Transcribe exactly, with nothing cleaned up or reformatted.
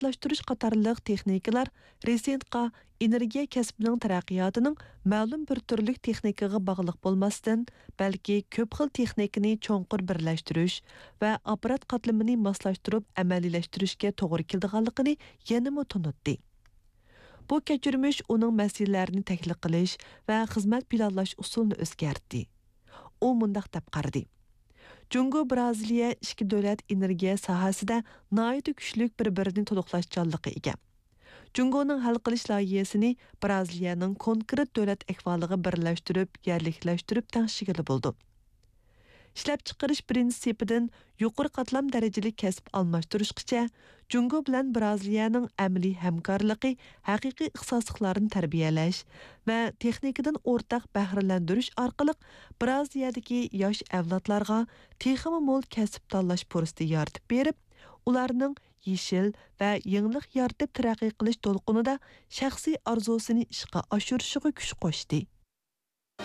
ئاپپاراتلاشتۇرۇش قاتارلىق تېخنىكىلار رېسېنتقا ئېنېرگىيە كەسپىنىڭ تەرەققىياتىنىڭ مەلۇم بىر تۈرلۈك تېخنىكىغا باغلىق بولماستىن، بەلكى كۆپ خىل تېخنىكىنى چوڭقۇر بىرلەشتۈرۈش ۋە ئاپپارات قاتلىمىنى ماسلاشتۇرۇپ ئەمەلىيلەشتۈرۈشكە توغرا كېلىدىغانلىقىنى يەنىمۇ تونۇتتى. بۇ كەچۈرمىش ئۇنىڭ مەسىلىلەرنى تەھلىل قىلىش ۋە خىزمەت پىلانلاش ئۇسۇلىنى ئۆزگەرتتى. ئۇ مۇنداق دەپ قارىدى: جۇڭگو بىرازىلىيە ئىككى دۆلەت ئېنېرگىيە ساھەسىدە ناھايىتى كۈچلۈك بىر-بىرىنى تولۇقلاشچانلىققا ئىگە. جۇڭگونىڭ ھەل قىلىش لايىھەسىنى بىرازىلىيەنىڭ كونكرېت دۆلەت ئەھۋالىغا بىرلەشتۈرۈپ، يەرلىكلەشتۈرۈپ تەڭشىگىلى بولىدۇ. ئىشلەپچىقىرىش پىرىنسىپىدىن يۇقىرى قاتلام دەرىجىلىك كەسىپ ئالماشتۇرۇشقىچە، جۇڭگو بىلەن بىرازىلىيەنىڭ ئەمەلىي ھەمكارلىقى ھەقىقىي ئىختىساسلىقلارنى تەربىيەلەش ۋە تېخنىكىدىن ئورتاق بەھرىلەندۈرۈش ئارقىلىق بىرازىلىيەدىكى ياش ئەۋلادلارغا تېخىمۇ مول كەسىپ تاللاش پۇرسىتى يارىتىپ بېرىپ، ئۇلارنىڭ يېشىل ۋە يېڭىلىق يارىتىپ تەرەققىي قىلىش دولقۇنىدا شەخسىي ئارزۇسىنى ئىشقا ئاشۇرۇشىغا كۈچ قوشتى.